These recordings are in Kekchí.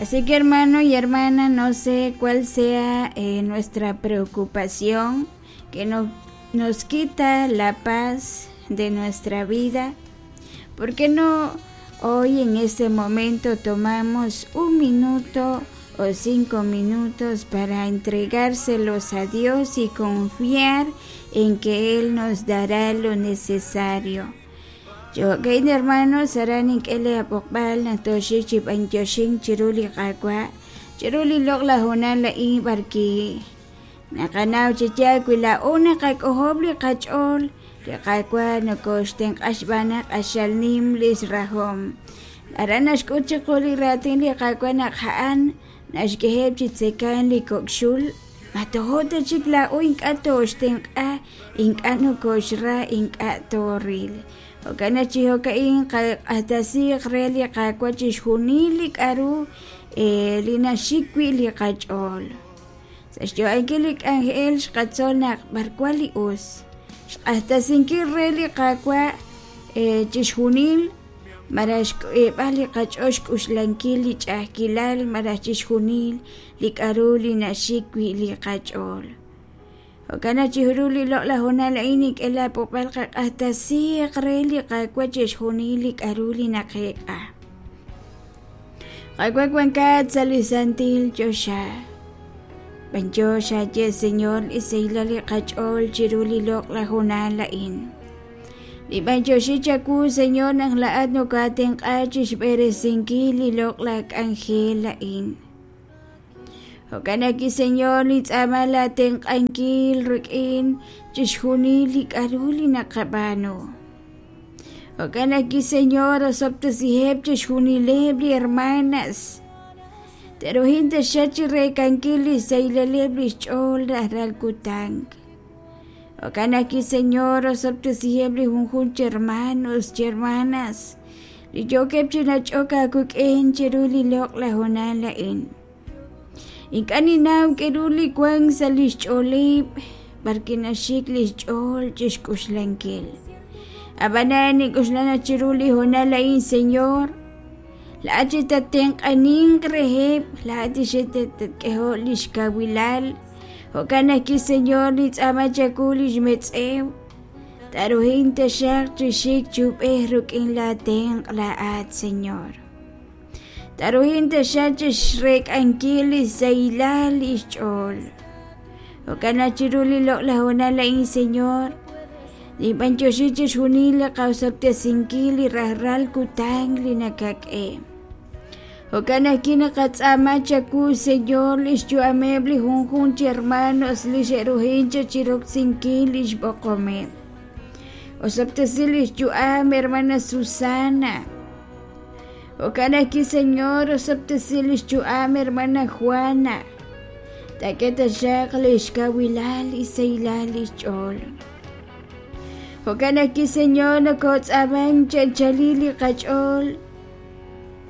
Así que hermano y hermana, no sé cuál sea nuestra preocupación que no, nos quita la paz de nuestra vida. ¿Por qué no hoy en este momento tomamos un minuto o 5 minutos para entregárselos a Dios y confiar en que Él nos dará lo necesario? Jo'kan hermanos, aran nink'e lee ab'oqb'al naq tooxik chi b'antioxink chiru li Qaawa', chiru li loq'laj hoonal a'in b'arki naqanaw chi yaal wi laa'o naqak'ojob' li qach'ool, li Qaawa' nokoxtenq'a xb'aan naq q'axal nim lix rahom. Aran naxk'ut chiqu li raatin li Qaawa' naq a'an naxk'eheb' chi tzekank li kok' xul, ma tojo' ta chik laa'o ink'a' tooxtenq'a, ink'a' nokoxra, ink'a' tooril. Jo'kan naq chi jo'ka'in qaq'axtesiiq re li Qaawa' chixjunil li k'a'ru li naxik wi' li qach'ool. Sa' xyo'ankil li k'anjel xqatzol naq b'arwan li us. Xq'axtesinkil re li Qaawa' chixjunil malaj xk'eeb'al li qach'ool xk'uxlankil li ch'a'ajkilal malaj chixjunil li k'a'ru li naxik wi' li qach'ool. Jo'kan naq chiru li loq'laj hoonal a'in nink'e laa b'oqb'al qaq'axtesiiq re li Qaawa' chixjunil li k'a'ru li naqeek'a. Qaawa' wankat sa' li santil choxa. B'antiox aaye Señor li sahilal li qach'ool chiru li loq'laj hoonal a'in. Li b'antioxi chawu Señor naq laa'at nokaatenq'a chixb'eresinkil li loq'laj k'anjel a'in. Jo'kan naq Señor nintz'aama laatenq'ankil rik'in chixjunil li k'a'ru li naqab'aanu. Jo'kan naq Señor osob'tesiheb' chixjunileb' li hermanas. Te'ruhin taxaq chireek'ankil li xsahilaleb' lix ch'ool rajlal kutan. Jo'kan naq Señor osob'tesiheb' li junjunq chi hermanos, chi hermanas li yookeb' chi nach'ok aawik'in chiru li loq'laj hoonal a'in. Ink'a' ninnaw k'a'ru li wank sa' lix ch'ooleb' b'arwi' naxik lix ch'ool chixk'uxlankil. Ab'anan nink'uxla naq chiru li hoonal a'in, Señor, laa'at chi tattenq'aninq reheb', laa'at xe'tatk'eho' lix kawilal. Jo'kan naq Señor nintz'aama chawu lix metz'ew. Taruhin taxaq chi xik chi ub'ej rik'in laatenq' laa'at, Señor. Taruhin taxaq chixreek'ankil li sahilal lix ch'ool. Jo'kan naq chiru li loq'laj hoonal a'in, Señor, ninb'antioxi chixjunil li qaosob'tesinkil li rajlal kutan li nakak'e. Jo'kan ajwi' naqatz'aama chawu, Señor, lix yu'ameb' li junjunq chi hermanos li xe'ruhin chiroksinkil lix b'oqomeb'. Osob'tesi lix yu'am hermana Susana. Jo'kan ajwi', Señor, osob'tesi lix yu'am hermana Juana. Taak'e taxaq lix kawilal li sahilal lix ch'ool. Jo'kan ajwi', Señor, nokotz'aaman chi anchalil li qach'ool.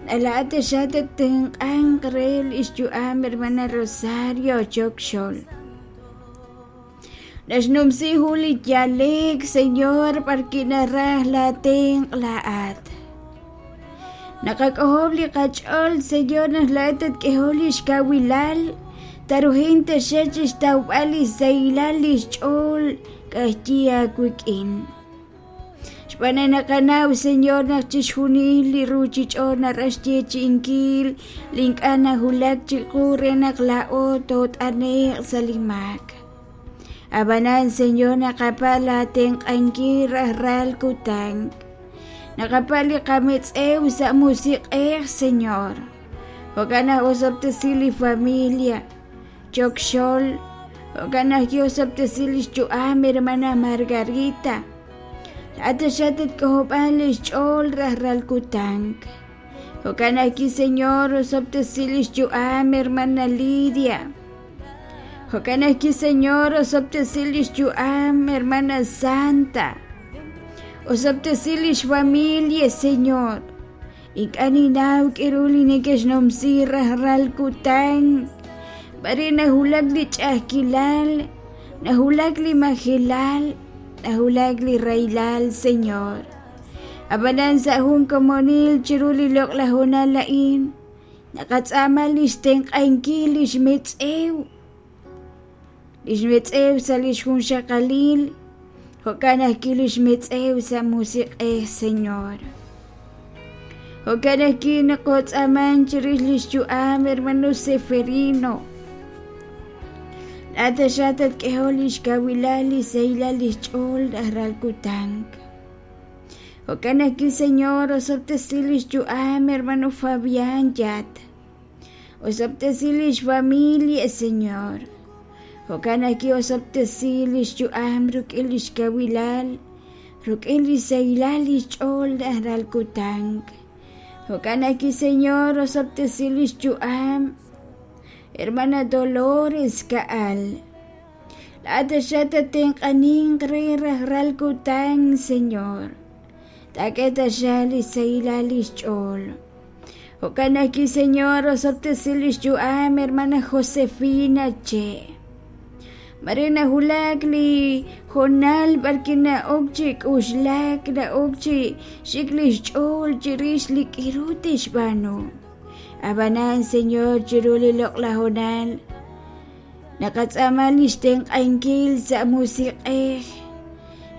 Laa'at taxaq tattenq'anq re lix yu'am hermana Rosario Chokxol. Naxnumsi jun li yaleek, Señor, b'arwi' naraj laatenq' laa'at. Naqak'ojob' li qach'ool, Señor, naq laa'at tatk'eho lix kawilal, taruhin taxaq chixtawb'al li sahilal lix ch'ool k'ajyi aawik'in. Xb'aan naq naqanaw, Señor, naq chixjunil li ruuchich'och' naraj xyeechi'inkil li ink'a' nawulak chiqu re naq laa'o toot'ane'q sa' li maak. Ab'anan, Señor, naqapatz' laatenq'ankil rajlal kutan. Naqapatz' li qametz'ew sa' musiq'ej, Señor. Jo'kan naq osob'tesi li familia, Chokxol. Jo'kan ajwi' osob'tesi lix yu'am hermana Margarita. Laa'at taxaq tatk'ojob'anq lix ch'ool rajlal kutan. Jo'kan ajwi', Señor, osob'tesi lix yu'am hermana Lidia. Jo'kan ajwi', Señor, osob'tesi lix yu'am hermana Santa. Osob'tesi lix familia, Señor. Ink'a' ninnaw k'a'ru li neke'xnumsi rajlal kutan. B'are nawulak li ch'a'ajkilal, nawulak li majelal, nawulak li rahilal, Señor. Ab'anan sa' jun komonil chiru li loq'laj hoonal a'in, Naqatz'aama li xtenq'ankil li xmetz'ew, li xmetz'ew sa' li xjunxaqalil, jo'kan ajwi' li xmetz'ew sa' musiq'ej, Señor. Jo'kan ajwi' naqotz'aaman chirix li xyu'am hermano Seferino. Laa'at taxaq tatk'ehol li xkawilal li sahilal li xch'ool rajlal kutan. Jo'kan ajwi', Señor, osob'tesi li xyu'am hermano Fabián Yat. Osob'tesi li xfamilia, Señor. Jo'kan ajwi' osob'tesi li xyu'am rik'in li xkawilal, rik'in li sahilal li xch'ool rajlal kutan. Jo'kan ajwi', Señor, osob'tesi li xyu'am hermana Dolores Ka'al. Laa'at taxaq tatenq'aninq re rajlal kutan, Señor. Taak'e taxaq li xsahilal li xch'ool. Jo'kan ajwi', Señor, osob'tesi li xyu'am hermana Josefina Che. Mare nawulak li hoonal b'arwi' na'ok chi k'uxlak, na'ok chi xik li xch'ool chirix li k'aru tixb'aanu. Ab'anan, Señor, chiru li loq'laj hoonal Naqatz'aama li xtenq'ankil sa' musiq'ej.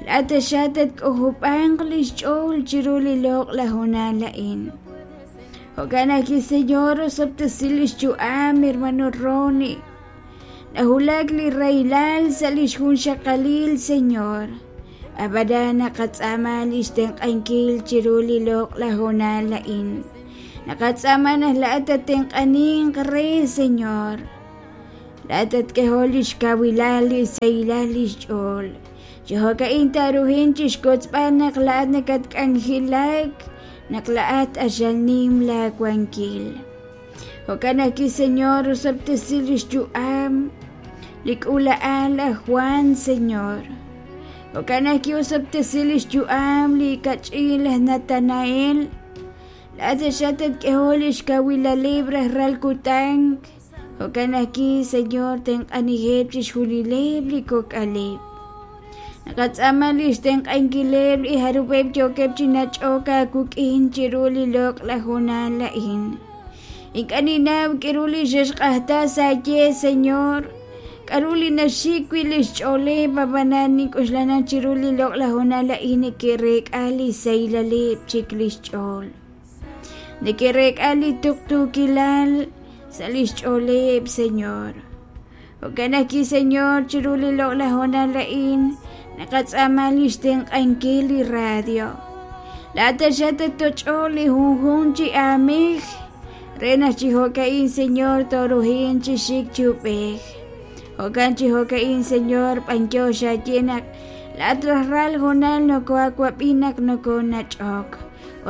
Laa'at taxaq tatk'ojob'anq li xch'ool chiru li loq'laj hoonal a'in. Jo'kan ajwi', Señor, osob'tesi li xyu'am, hermano Ronnie. Nawulak li rahilal sa' li xjunxaqalil, Señor. Ab'anan naqatz'aama li xtenq'ankil chiru li loq'laj hoonal a'in. Naqatz'aama naq laa'at tatenq'aninq re, Señor. Laa'at tatk'ehol li xkawilal li sahilal li xch'ool. Chi jo'ka'in taaruhin chi xkotzb'al naq laa'at nakatk'anjelak, naq laa'at q'axal nim laawankil. Jo'kan ajwi', Señor, osob'tesi li xyu'am li k'uula'al aj Jwan, Señor. Jo'kan ajwi' osob'tesi li xyu'am li kach'in laj Natanael. Laa'at taxaq tatk'ehol li xkawilaleb' rajlal kutan. Jo'kan ajwi', Señor, tenq'aniheb' chixjunileb' li kok'aleb'. Naqatz'aama li xtenq'ankileb' li jarub'eb' yookeb' chi nach'ok aawik'in chiru li loq'laj hoonal a'in. Ink'a' ninnaw k'aru li xe'xq'ajta sa' ye, Señor, k'aru li naxik wi' li xch'ooleb', ab'anan nink'oxla naq chiru li loq'laj hoonal a'in neke'reek'a li sahilaleb' chik li xch'ool. Neke'reek'a li tuqtuukilal sa' li xch'ooleb', Señor. Jo'kan ajwi', Señor, chiru li loq'laj hoonal a'in naqatz'aama li xtenq'ankil li radio. Laa'at taxaq tattoch'oq li junjunq chi aamej re naq chi jo'ka'in, Señor, tooruhin chi xik chi ub'ej. Jo'kan chi jo'ka'in, Señor, b'anyox aaye naq laa'at rajlal hoonal nokohaawab'i naq nokoonach'ok.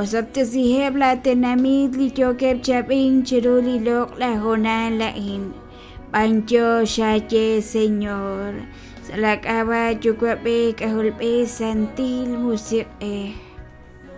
Osob'tesiheb' laatenamit li yookeb' chi ab'ink chiru li loq'laj hoonal a'in. B'anyox aaye, Señor, sa' laak'ab'a' Yuwa'b'ej, K'ajolb'ej, Santil Musiq'ej.